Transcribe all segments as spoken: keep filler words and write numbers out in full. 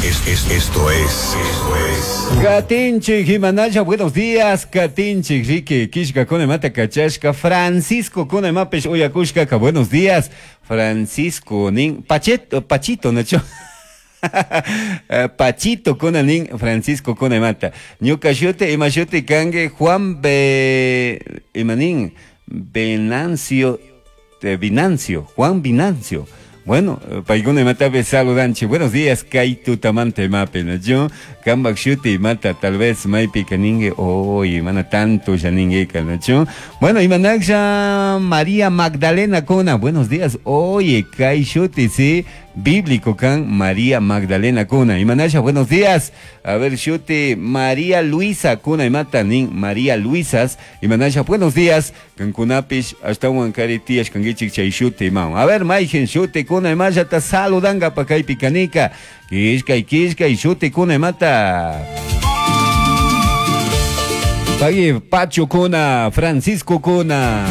Es, es, esto es, esto es. Katinchik, Jimanaya, buenos días. Katinchik, Ricky, Kishka, Kunemata, Kachashka, Francisco, Kunemapesh, Uyakushka, buenos días. Francisco, Nin, Pacheto, Pachito, Nacho. Pachito kunanin Francisco kunemata. Ñuka shuti ima shuti kange Juan Be imanin Venancio de Vinancio, Juan Vinancio. Bueno, paykuna imatapi saludanchik. Buenos días, kay tutamanta imapi, nachu? Kambak shuti imata, tal vez maypi kaninki, oy, mana tanto ya ninguika, nachu? Bueno, imanaklla María Magdalena kuna, buenos días, oye, kay shuti, sí, bíblico kan María Magdalena kuna. Imanasha, buenos días. A ver, shuti María Luisa kuna imata nin María Luisas. Imanasha, buenos días. Kankunapish ashtawan kari tiyash kankichik chay shuti imawan. A ver, mayjin shuti kuna imallata saludanga kaypi kanika. Kishkay, kishkay, shuti kuna imata. Pagui Pacho kuna, Francisco kuna.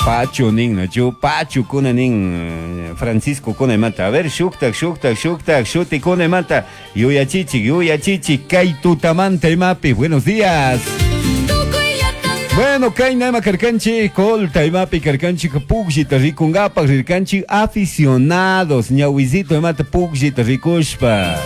Pacho nin, nachu, Pacho kuna nin, Francisco kuna imata. A ver, shuktak, shuktak, shuktak, shuti kuna imata. Yuyachichik, yuyachichik, kay tutamanta imapi. Buenos días. Bueno, kay nama karkanchik, colta imapi karkanchik, pukllita rikungapak rirkanchik, aficionados, ñawisito imata pukllita rikushpa.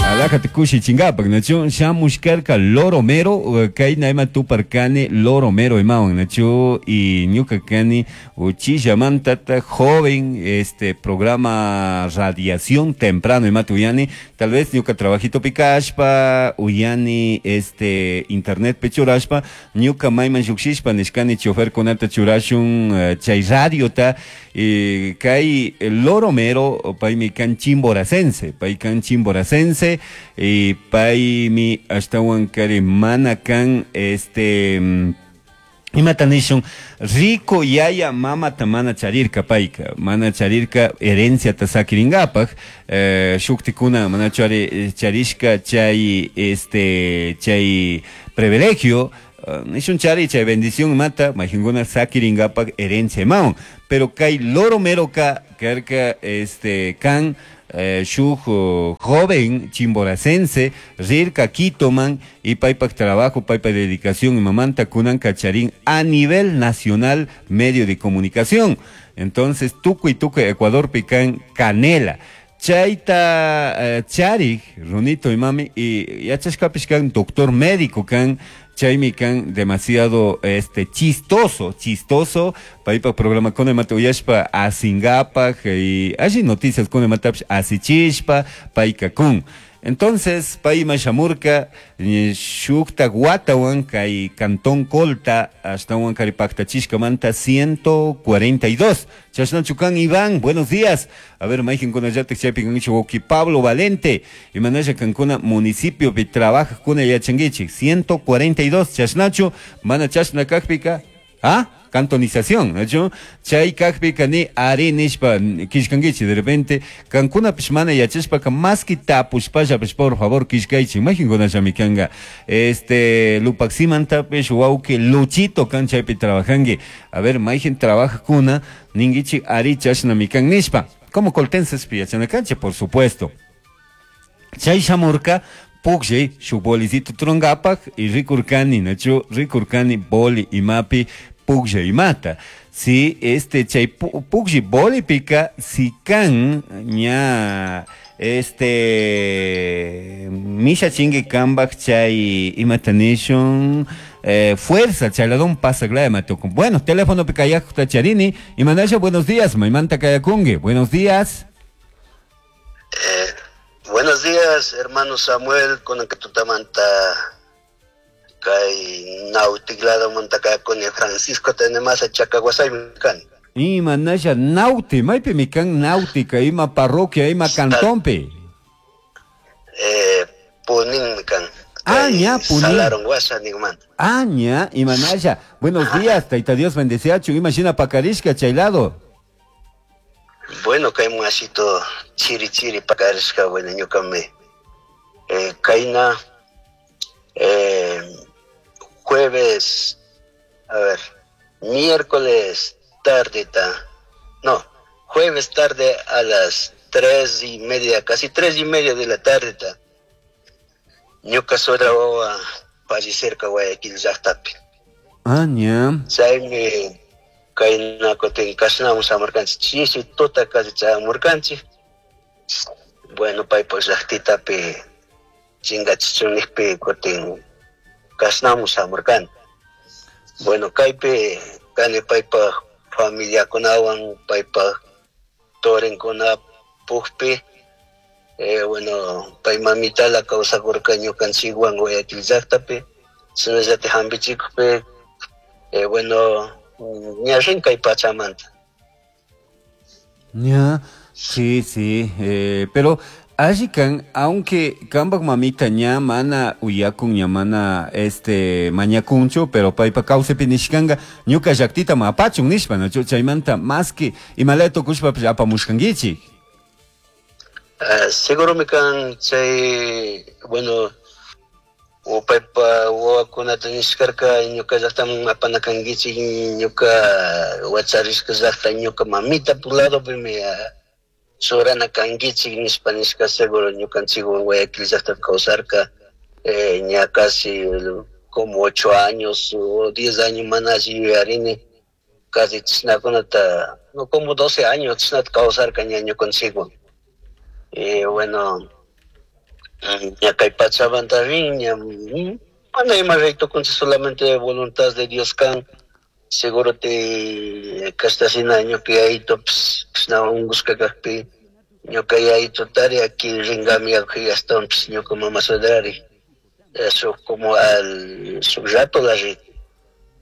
Alajate kushi chingapak, nachu, shamushkarka loro mero, kay naima tuparkani loro mero imawan, nachu, y ñuka kani uchillamantata joven, este programa radiación temprano imata uyani, tal vez ñuka trabajito pikashpa, uyani este internet pechurashpa, ñuka mayman llukshishpa nishkani chofer kunata churashun chay radiota, y kay loro mero, paymi kan chimboracense, pay kan chimboracense, y paymi ashtawan kari mana kan este imata nishun rico yaya mamata mana charirka payka mana charirka herenciata sakiringapak eh, shuktikuna mana chari, charishka chay este chay privilegio uh, nishun chari chay bendición mata majinkuna sakiringapak herencia imawan pero kay loro mero ka karka este kan Eh, shuk joven chimboracense rirka Quitoman y paypak trabajo, paypak dedicación y mamanta kunan kacharín a nivel nacional medio de comunicación. Entonces tukuy tukuy Ecuador pican canela. Chayta eh, charik, runito y mami, y yachashkapish kan doctor médico kan chaymi kan demasiado este chistoso, chistoso, paypak programa kuna imata uyashpa asingapak y alli noticias kuna imatapish asichishpa payka kun. Entonces, payma shamurka shukta watawan kay Cantón Colta ashtawan kari paktachishkamanta ciento cuarenta y dos. Chashnachu kan Iván, buenos días. A ver, mayqinkunallatik chaypi kankichik wawqi Pablo Valente. Imanalla kankuna municipio pi trabaja kuna yachankichik. ciento cuarenta y dos, chashnachu, mana chashna kajpika, ¿ah? Cantonización, ¿no? Chay kajpika ni ari nishpa kishkankichik de repente kankunapish mana yachashpaka maski tapushpallapish por favor kishkaychik mayqinkunallami kanka este Lupaximantapish wawqi Luchito kan chaypi trabajanki a ver mayqin trabajakuna ninkichik ari chashnami kan nishpa como coltenses yachanakanchik por supuesto chay shamurka pukllay shuk bolicito trungapak y rikurkani nachu rikurkani boli imapi puklla imata. Si este chay puklli bolipika si kan ña este misha chingue kambak chay imata nishun eh, fuerza chaladón pasa glaya matucum. Bueno, teléfono pikayak tacharini y manasha buenos días, maymanta kayakungue. Buenos días. Eh, buenos días, hermano Samuel, con el que tutamanta kay nautiglado mantaka con el Francisco tenemos a Chacaguasay mikan. Ima nasha nauti, maypi mikan náutica, ima parroquia, ima cantonpi. Eh, Punín mikan. Ah, ña, Punín. Salaron guasa nigman. Ah, ña, ima nasha. Buenos días, taita Dios bendeciachu, imagina pacarishka chaylado. Bueno, kay muasito chiri chiri pacarishka, bueno, ñucame. Eh, kaina eh, jueves, a ver, miércoles tarde, ta, no, jueves tarde a las tres y media, casi tres y media de la tarde ta. Ñuka suegra wawa fallecerka Guayaquil llaqtapi. Ah, ña. Chaymi kayna kutin kashnamun shamurkanchik chishi tuta casi chayamurkanchik. Bueno, paypaq llaqtitapi chingachichun nijpi kutin kashnamun shamurkani. Bueno, kaypi kani paypaq familiakunawan, paypaq torinkuna pukpi. Eh, bueno, pay mamitala kawsakurka ñukanchikwan Guayaquil llaqtapi, shinallatik hampichikukpi, eh, bueno, ña rin kay pachamanta. Ña, sí, sí, eh, pero alli kan, aunque kambak mamita ña mana uyakun, ña mana este mañakunchu, pero paypa kawsaypi nishkanga ñuka llaqtita mapachun nishpa, ¿no? Chaymanta más que imalaya tukushpapish apamushkankichik. Uh, seguro kan chay, bueno, paypa wawakunata nishkarka ñuka llaqtaman apana kankichik, ñuka wacharishka llaqta ñuka mamita puladopimi churana kankichik nishpa nishka seguro ñukanchikwan Guayaquil llaqtapi kawsarka, eh, ña casi como ocho años o diez años mana alli yuyarini, casi chishnakunata, no, como doce años chishnata kawsarka ña ñukanchikwan. Eh, bueno, ña kay pachamanta rin, ña, mana ima raytukunchik, solamente voluntad de Dios kan, seguro te kashtasina ñuka yayito kashna ungushka kakpi, ñuka yayito tari aquí ringami ashtawanpish ñuka mama suedrari, eso como al shuk rato la rin.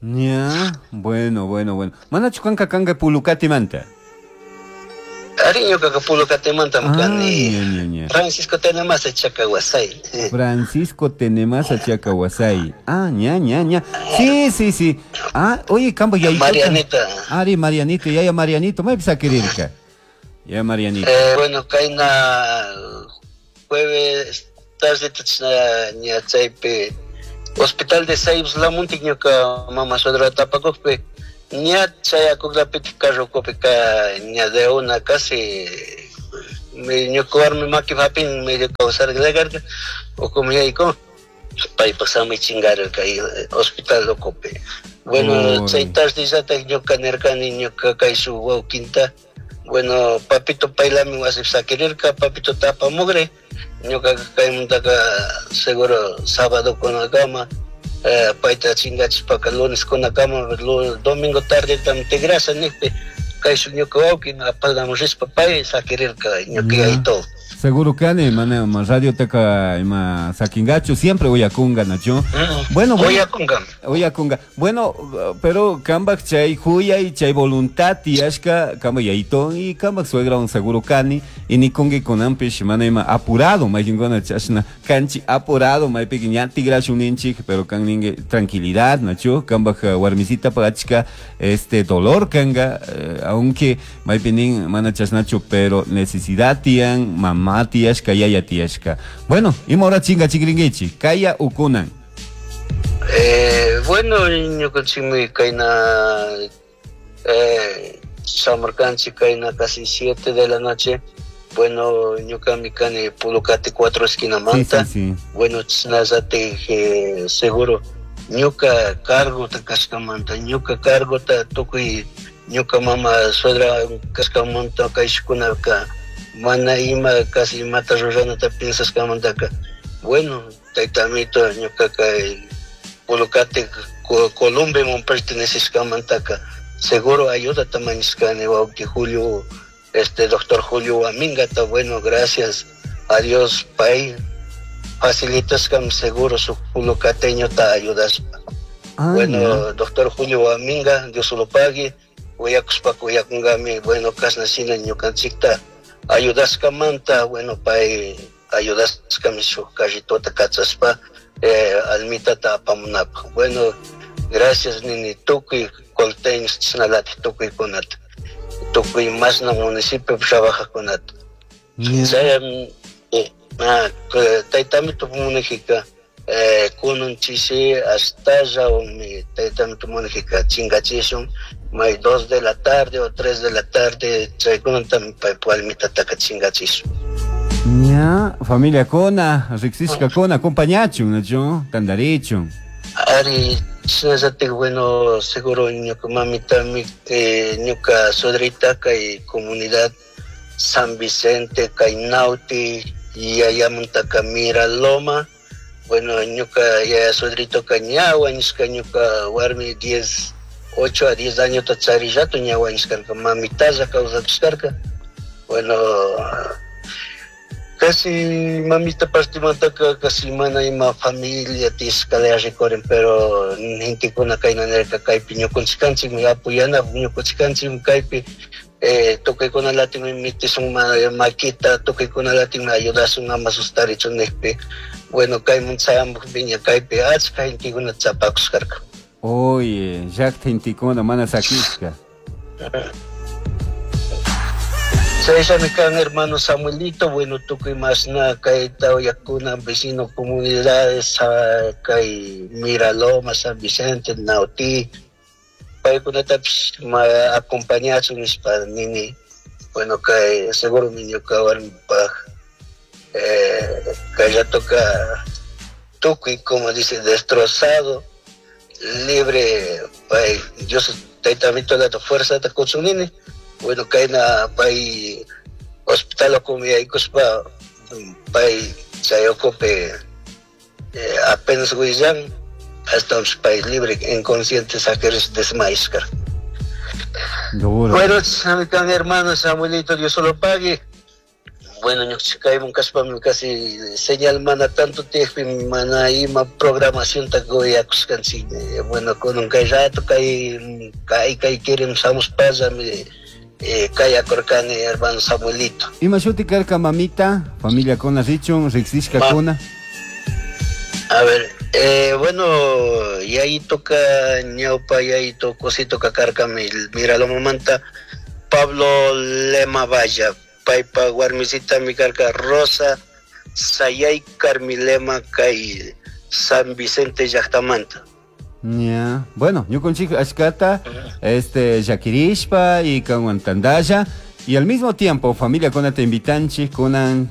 Ña, bueno, bueno, bueno. Manachu kanka kanka Pulucatimanta? Ari ñukaqa Pulucatimantami kani. Francisco Tenemasa Chacahuasay. Francisco Tenemasa Chacahuasay. Ah, ña, ña, ña. Sí, sí, sí. Ah, oye, kambo yayito. Marianita. Ari, Marianito, yaya Marianito, maypi sakirirka. Ya Marianito. Eh, bueno, kayna jueves tarde ña chaypi Hospital de Saibs Lamuntik ñuka mama suegra tapakukpi. Ña chayakuklapitik carrokupika ña de una casi ñuka warmi maki hapin medio kawsarkarka ukuman yaykun paypak samay chingarirka hospital ukupi. Bueno, chay tardellatak ñuka nirkani ñuka kayshuk wawkinta, bueno, papito paylami wasipi sakirirka, papito tapamukri, ñuka kaymantaka seguro sábado kunakama eh, payta chingachishpaka lunes kunakama, domingo tardetam tigrasha nijpi kayshuk ñuka wawkin apadamun rishpa pay sakirirka ñuka yayito. Seguro kani, mana radio taka ima sakingachu, siempre uyakunga, nacho. Mm, bueno, bueno, uyakunga. Uyakunga. Bueno, pero kambak chay huyay, chay voluntad tiyashka, kambak yayito y kambak suegra un seguro kani, y nikungi kunanpish mana ima apurado, maykinguna chashna kanchi apurado, maypiki ña tigrashun ninchik, pero kan ningue tranquilidad, nacho, kambak warmisita pachka, este dolor kanga, eh, aunque maypinin mana chashnachu, pero necesidad tiyan, mamá tiyashka, yaya tiyashka. Bueno, ima hora chinga chikringuichi, kaya ukunan. Eh, bueno, ñukanchikmi kayna eh, shamurkanchik kayna casi siete de la noche. Bueno, ñukami kani Pulucate cuatro esquina manta. Sí, sí, sí. Bueno, chashnallatik eh, seguro ñuka cargota kashkamanta, ñuka cargota tukuy ñuka mama suegra kashkamanta kayshkunaka mana ima casi imata ruranata piensashkamantaka. Bueno, tayta amito ñuka kay Pulucate Columbeman perteneceshkamantaka seguro ayudata mañashkani wawki Julio, este doctor Julio Huamingata. Bueno, gracias a Dios pay facilitashkam seguro su pulucateñota ayudashpa. Ah, bueno, no. Doctor Julio Huaminga, Dios lo pague, uyakushpa uyakunkami, bueno, kashna shina ñukanchikta ayudashkamanta, bueno, pay ayudashkami shuk carritota kachashpa eh, almitata apamunapaj. Bueno, gracias nini tukuy colteños chashnalatik tukuykunata, tukuy mashna municipio trabajajkunata. Yeah. Chay, eh, ah, taytami tupunijika eh, kunan chishi astalla mi taytami tupunijika chingachishun, May dos de la tarde o tres de la tarde chaykunatami paypa warmitataka chingachish. Ña, familia kona, riqsishkakuna, acompañachun, nachu, tantarichun. Ari, shinallatik, bueno, seguro ñuka mamitami, eh, ñuka suegrita kay comunidad San Vicente, kay Nauti, yayamantaka Miraloma. Bueno, ñuka yaya suegritoka ña wañushka ñuka warmi diez, ocho a diez años charillato ña wañushkarka, mamitalla kawsachishkarka. Bueno, casi mamita partimantaka casi mana ima familia tishkala rikurin, pero gentekuna kayna nirka kaypi ñukunchikkanchikmi apoyana ñukunchikkanchikmi kaypi eh, tukuykunalatikmi mitisun maquita, tukuykunalatikmi ayudasun ama sustarichun nijpi. Bueno, kayman chayamukpi ña kaypi achka gentekuna chapakushkarka. Oye, llakta gentekuna mana sakishka. Chayllami kan hermano Samuelito, bueno, tukuy masna kay tawayakuna, vecino comunidades, kay Miraloma, San Vicente, Nautí, paykunatapish ma acompañachun nishpa nini. Bueno, kay seguro mi ñuka warmipaj, eh, kay ratoka tukuy, como dice, destrozado, libre, pay, Dios taytamito la fuerza ta kuchun nini. Bueno, kayna pay hospital okumiyaykuspa pay chay ukupi eh, apenas willan hasta pay libre inconsciente saqueres desmayashkar. Duro. Bueno, kan hermano Samuelito, Dios solo pague. Bueno, ñuqchikayman kashpami casi señal mana tanto tiyakpi mana ima programación ta goyakushkanchik. Bueno, kunan kay rato kay kay kay quieren shamushpallami eh, kay akurkani hermano Samuelito. Ima shuti karka mamita, familia kona richun, riqsishka kuna. A ver, eh, bueno, yayitoka ñawpa yayito cosito karka Miralomamanta Pablo Lema Valla, paypa warmisitami karka Rosa Sayay Carmilema kay San Vicente llaktamanta. Ya, bueno, ñukunchik ashkata, este, llakirishpa y kanwan tandalla, y al mismo tiempo familia kona te invitanchik kunan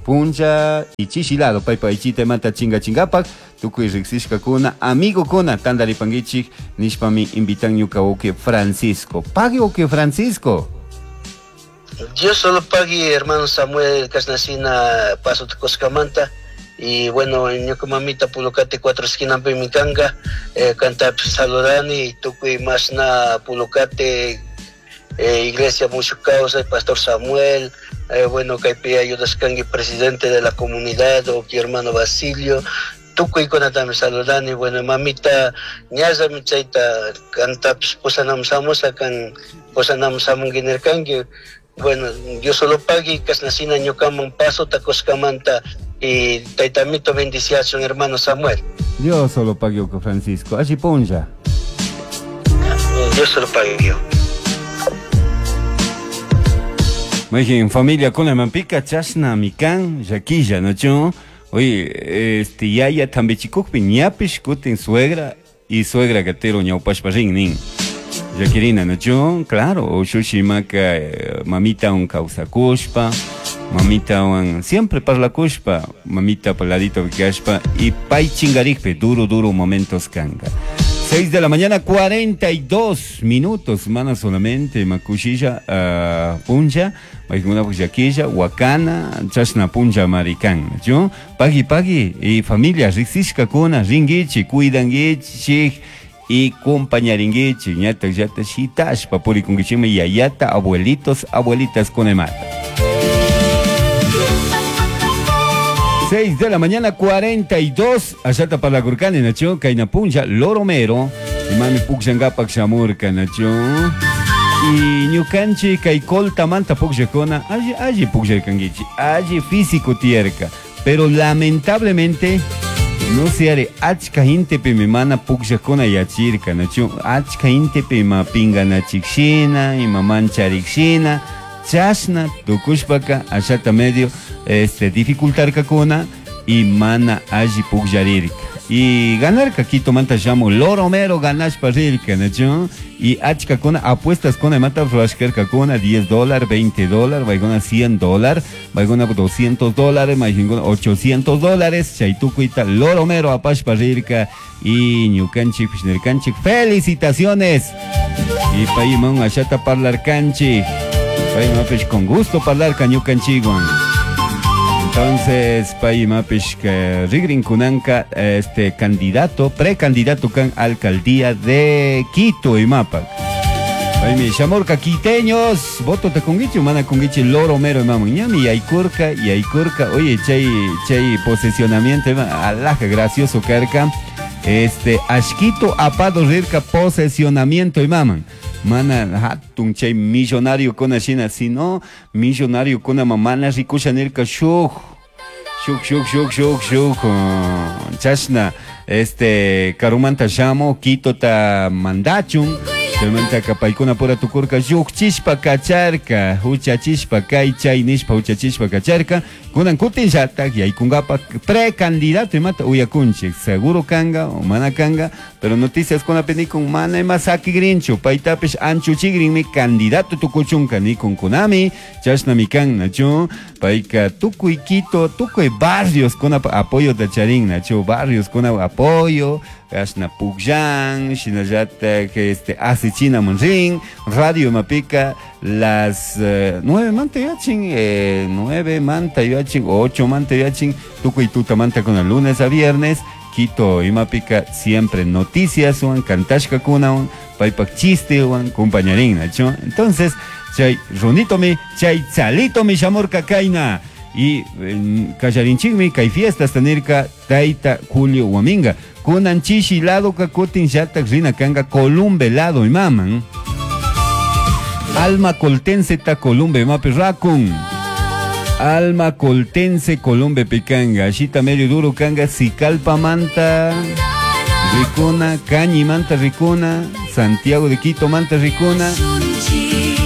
puncha y chishilado paypa ichita mata chinga chingapak tukuy riqsishkakuna amigo kuna tandaripankichik nishpami invitan ñuka uke Francisco. Pague uke Francisco. Dios solo pague hermano Samuel kasnasina paso tukuskamanta. Y bueno, ñuka mamita Pulocate cuatro esquina pimikanga, eh, kanta saludani tukuy masna Pulocate, eh, iglesia mucho causa, pastor Samuel, eh, bueno, kaypi ayudaskanki presidente de la comunidad, o mi hermano Basilio, tukuy kunatami saludani. Bueno, mamita ñallami chayta kantapis pusanam samusa kan pusanam samunki nirkanki. Bueno, Dios solo pague kasnasina ñukaman paso takuskamanta y taytamito bendiciachun hermano Samuel. Dios solo pague Francisco. Allí punlla. Dios solo pague. Maijin familia kuna mampica chasna mikan yaquilla no Oye, este yaya tambichikukpi ñapish kutin suegra y suegra gatero ñawpashpa rin nin. Yaquirina, ¿no? Yo, claro, ushushimaka, eh, mamita un causacushpa, mamita un siempre parlacushpa, mamita paladito vikashpa y pay chingarikpe, duro, duro momentos kanga. seis de la mañana, cuarenta y dos minutos, mana solamente, makushilla, uh, punja, maikuna puyaquilla, huacana, chashna punja maricán, ¿yo? Pagui, pagui, y familia, riqsishka kuna, ringuichi, cuidanguichi, y compañaringuichi, ñata, yata, shitashpa, purikunguichime, yayata, abuelitos, abuelitas con emata. seis de la mañana, cuarenta y dos, allá para la Gurkani, Nacho, Kaina Punja, Loromero, y mami Puxangapak Shamurka, Nacho, y Ñukanchi, Kaikolta, Manta Puxacona, allí, allí Puxarkanguichi, allí físico tierca, pero lamentablemente, no se haré, achka gente pimimana Puxacona yachirka, Nacho, achka gente pima pingana chikshina, y maman charikshina, chashna, tukushpaka, allá medio, este, dificultar kakuna y mana alli pukllarirka. Y ganarka Quito manta shamu Loromero ganashpa rirka, nachu? Y achka kuna apuestas kuna imata rurashkarka kuna diez dólares, veinte dólares, maykuna cien dólares, maykuna doscientos dólares, maykuna ochocientos dólares, chay tukuyta Loromero apashpa rirka y ñukanchik nirkanchik felicitaciones. Y payman ashata parlarkanchik, paymapish con gusto parlarka ñukanchikwan. Entonces, paymapish rigrin kunanka este candidato, precandidato kan alcaldía de Quito imapak. Paymi shamurka quiteños, voto te kungichi, mana kungichi Loromero imaman ñami yaykurka, yaykurka, oye, chay chay posesionamiento ima alaja gracioso karka. Este ashquito apado rirka posesionamiento imaman. Mana hatun chay millonario kuna shina, sino millonario kuna mamana rikusha nirka shuk shuk shuk shuk shuk shuk chashna este karumanta shamo Quito ta mandachun chaymanta paykuna pura tukurka lluqchishpa kacharka huchachishpa kay chay nishpa huchachishpa kacharka kunan kutin llatak yaykunkapa precandidato imata uyakunchik seguro kanga o mana kanga pero noticias kunapi nikun mana ima sakigrinchu paytapish anchuchigrinmi candidato tukuchunka nikun kunami chashnami kan nachu payka tukuy Quito tukuy barrios kunapa apoyo ta charin nachu barrios kuna apoyo ashna pukllan shinallatak este asichina manrin radio mapika las eh, nueve manta yachin eh, nueve manta yachin ocho manta yachin tukuy tuta manta con el lunes a viernes Quito imapika siempre noticias wan kantashka kunawan paypak chiste wan compañerín nachu entonces chay runito mi chay chalito mi shamurka kayna y kallarinchikmi kay fiestas tanirka tayta Julio Huaminga kunan chishi lado ka kutin llatak rina kanga Columbe lado imaman Alma Coltense ta Columbe imapi rakun Alma Coltense Columbe pikanga ashita medio duro kanga Sicalpa manta rikuna Cañi manta rikuna Santiago de Quito manta rikuna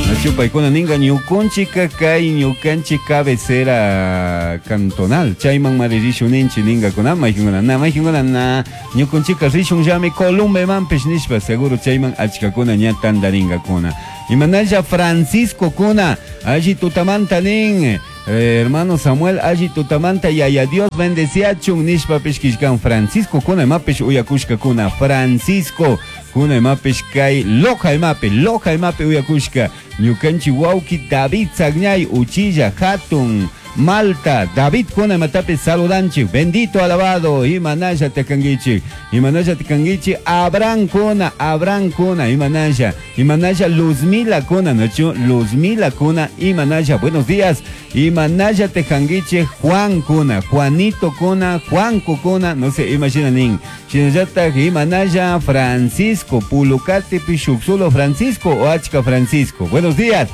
Nachu paykuna ninga ñukunchika kay ñukanchik cabecera cantonal chayman mari rishun ninchi ninga kuna maykinkuna na maykinkuna na ñukunchika rishun llami Columbe manpish nishpa seguro chayman achkakuna ña tandaringakuna imanalla Francisco kuna alli tutamanta nin eh, hermano Samuel alli tutamanta yaya Dios bendeciachun nishpapish kishkan Francisco kuna imapish uyakushka kuna Francisco kuna imapish kay Loja imapi Loja imapi uyakushka ñukanchik wawki David Sagñay uchilla hatun Malta David kuna imatapi saludanchik bendito alabado imanalla tekangichik imanalla tekangichik Abraham kuna Abraham kuna imanalla imanalla Luzmila kuna nachu Luzmila kuna imanalla buenos días imanalla tekangichik Juan kuna Juanito kuna Juanco kuna no sé imagina nin shinallatak imanalla Francisco Pulucate Pixuxulo Francisco o Achka Francisco buenos días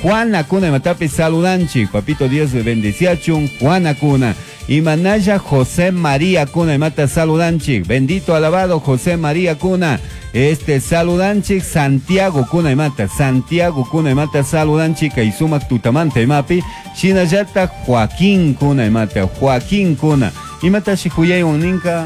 Juana Cuna imatapi saludanchik papito Dios bendeciachun Juana Cuna imanalla José María Cuna imata saludanchik bendito alabado José María Cuna este saludanchik Santiago Cuna imata Santiago Cuna imata saludanchik y sumak tutamanta imapi shinallata Joaquín Cuna imata Joaquín Cuna imata shikuyaywan ninka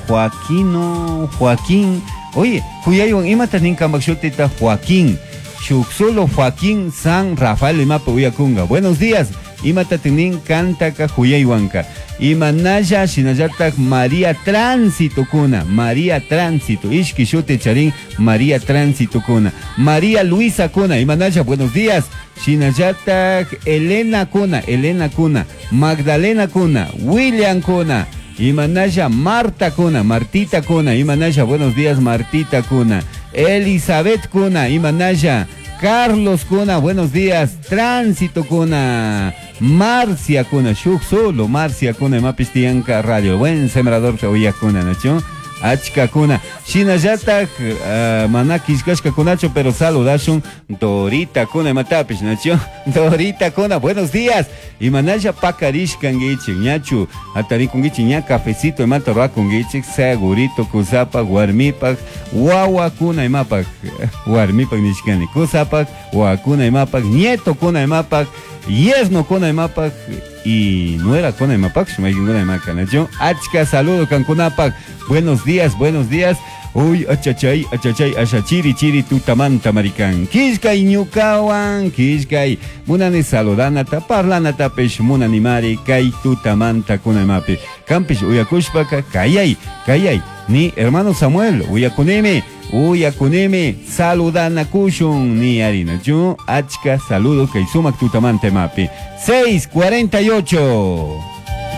Joaquino Joaquín oye huyaywan imata ninka makshutita Joaquín Xuxulo Joaquín San Rafael imapi uyakunga buenos días imata tinin kantaka huyaywanka imanalla shinallatak María Tránsito kuna María Tránsito ishki shuti charin María Tránsito kuna María Luisa kuna imanalla buenos días shinallatak Elena kuna Elena kuna Magdalena kuna William kuna imanalla Marta kuna Martita kuna imanalla buenos días Martita kuna Elizabeth kuna imanalla Carlos kuna buenos días Tránsito kuna Marcia kuna shuk solo Marcia kuna imapis tiyanka radio buen sembrador te uyakuna nachu achka kuna shinallatak uh, mana kishkashka kunachu pero saludashun Dorita kuna imatapish nachu Dorita kuna buenos días imanalla pakarishkankichik ñachu atarikunkichik ña cafecito imata rakunkichik segurito kusapak warmipak wawakuna imapak warmipak nishkani kusapak wawakuna imapak nieto kuna imapak yerno kuna imapak Y nuera kuna imapaksh maykinkuna imaka nachu achka saludo kankunapak. Buenos días, buenos días. Uy, achachay, achachay, asha chiri chiri tutamanta marikan. Kishkay ñukawan, kishkay munani saludanata, parlanatapish munanimari kay tutamanta kunamapi. Kampish uyakushpaka kayay, kayay. Ni hermano Samuel, uyakunimi, uyakunimi, saludanakushun ni harina. Yo, achka saludo kay sumak tutamanta mapi. seis cuarenta y ocho.